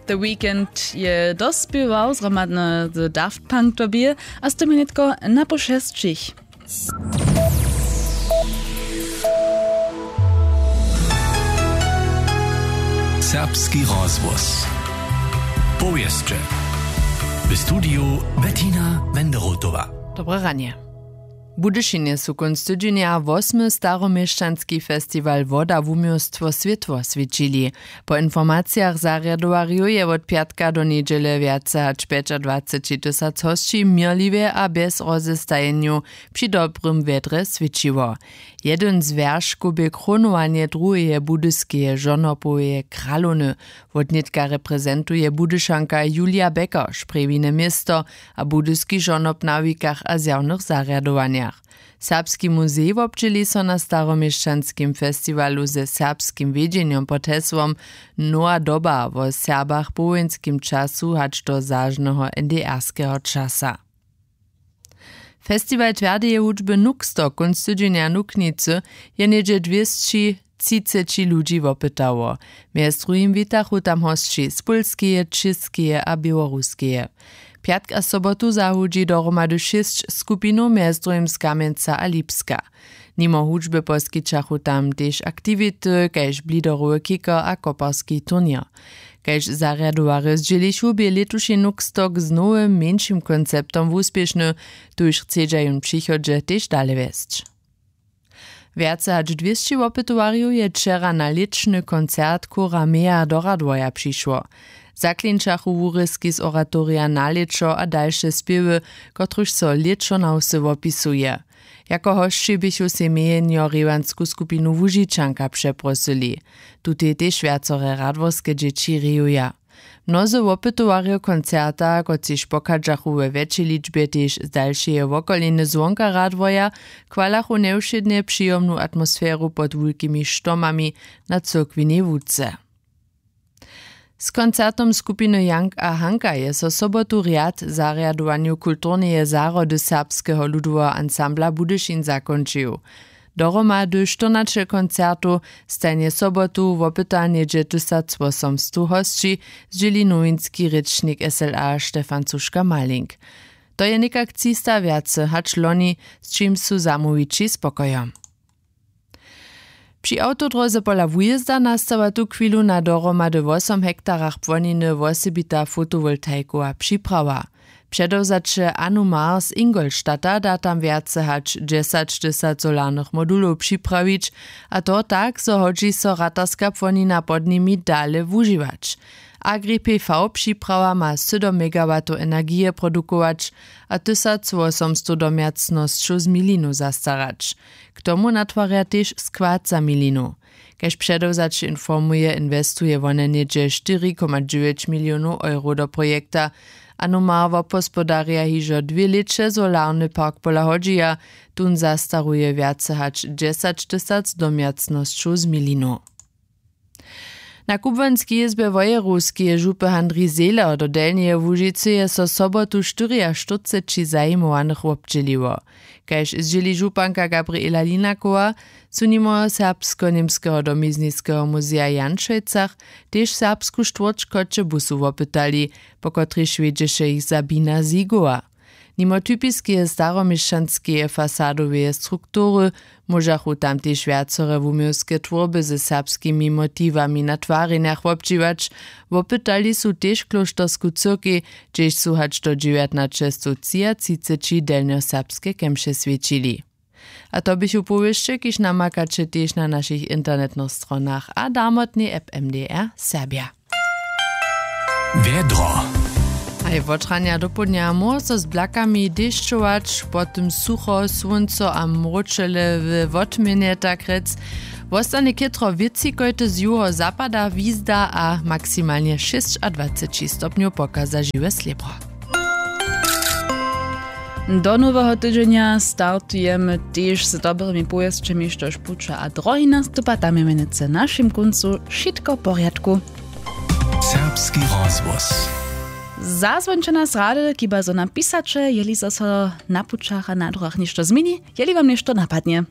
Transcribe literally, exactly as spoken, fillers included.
The Weeknd je dospěwał zhromadnje z Daft Punk době a z tym je nětko na po šesćich. Serbski rozhłos. Powěsće. W studiju Bettina Wenderotowa. Dobre ranje. W Budyšinje su kónc tydźenja wosmy staroměšćanski festiwal Woda wuměłstwo swětło swěćili. Po informacijach zarjadowarjow je wot pjatka do njedźele wjace hač pjećadwaceći tysac hosći měrliwje a bjez rozestajenjow při dobrym wjedrje swěćiło. Jedyn z wjerškow bě krónowanje druheje budyskeje žonopoweje kralowny. Wotnětka reprezentuje Budyšanka Julia Becker, šprjewine město a budyski žonob na wikach a zjawnjych zarjadowanjach. Serbski muzej wobdźěli so na staroměšćanskim festiwalu ze serbskim wědźenjom pod hesłom Nowa doba wo Serbach po wójenskim času hač do zažneho N D R skeho časa. Festiwal twjardeje hudźby Nuxto kónc tydźenja w Nuknicy je něhdźe dwěsći třiceći ludźi wopytało. Mjez druhim witachu tam hosći z Pólskeje, Čěskeje a Běłoruskeje. Pjatk a sobotu zahudźi dohromady šěsć skupinow, mjez druhim z Kamjenca a Lipska. Nimo hudźby poskićachu tam tež aktiwity kaž bliderowy kicker a koparski turněr. Kaž zarjadowarjo zdźělichu, bě lětuši Nuxtok z nowym mjeńšim konceptom wuspěšny, tuž chcedźa jón w přichodźe tež dale wjesć. Wjace hač dwěsći wopytowarjow je wčera na lěćny koncert chóra Mea do Radworja přišło. Zaklinčachu wurězki z oratorija Na lěćo a dalše spěwy, kotrychž so lěćo na wsy wopisuje. Jako hosći běchu sej mjenjo rěwansku skupinu Łužičanka přeprosyli. Tutej tež wjacore radworske dźěći rejuja. Mnozy wopytowarjo koncerta, kotřiž pochadźachu we wjetšej ličbje tež z dalšeje wokolinje zwonka Radworja, chwalachu njewšědnje přijomnu atmosferu pod wulkimi štomami na cyrkwinej łuce. Z koncertom skupiny Jank a Hanka je so sobotu rjad zarjadowanju kulturneje zahrody Serbskeho ludoweho ansambla Budyšin zakónčił. Dohromady štyrnaće koncertow, stajnje sobotu wopyta něhdźe tysacwosomstow hosći, zdźěli nowinski rěčnik S L A Stefan Cuška-Malink. To je někak třista wjace hač loni, z čimž su zamołwići spokojom. Při awtodróze pola wujězda nastawa tuchwilu na dohromady wosom hektarach płoniny wosebita fotowoltaikowa připrawa. Předewzaće Anumar z Ingolstadta da tam wjace hač dźesać tysac solarnych modulow připrawić, a to tak, zo hodźi so ratarska płonina pod nimi dale wužiwać. Agri P V připrawa ma sydom megawatow energije produkować a tysacwosomstow domjacnosćow z milinu zastarać. K tomu natwarja tež skład za milinu. Kaž předewzaće informuje, inwestuje wone něhdźe štyri koma dźewjeć milionow euro do projekta. Anumar wobhospodarja hižo dwě lěće solarny park pola hodźija. Tón zastaruje wjace hač dźesać tysac domjacnosćow z milinu. Na kubłanskej jězbje wojerowskeje župy Handrij Zehler do Delnjeje Łužicy je so sobotu štyriaštyrceći zajimowanych wobdźěliło. Kaž zdźěli županka Gabriela Linakowa, su nimo Serbsko-němskeho domizniskeho muzeja w Janšojcach tež serbsku štwórć w Choćebuzu wopytali, po kotrejž wjedźeše jich Sabina Sigowa. Nimo typiskeje staroměšćanskeje fasadoweje struktury móžachu tam tež wjacore wuměłske twórby ze serbskimi motiwami na twarjenjach wobdźěłać. Wopytali su tež klóštersku cyrkej, hdźež su hač do dźewjatnaćestowtřiatřiceći delnjoserbske kemše swjećili. A to běchu powěsće, kiž namakaće tež na našich internetnych stronach a darmotnej app M D R Serbja. Wjedro. Haj, wotranja dopołdnja móhło so z blakami dešćować, potom sucho, słónco a mróčele we wotměnje, tak rjec. Wostanje chětro wětřikojty z juhozapada, wizda a maksimalnje šěsćadwaceći stopnjow pokaza žiwe slěbro. Do noweho tydźenja startujemy tež z dobrymi powěsćemi, štož puća a drohi nastupa, tam je mjenujcy w našim kóncu wšitko w porjadku. Serbski rozhłos. Zazwońće nas rady, kiba zo nam pisaće, jeli zo so na pućach a na druhach něšto změni, jeli wam něšto napadnje.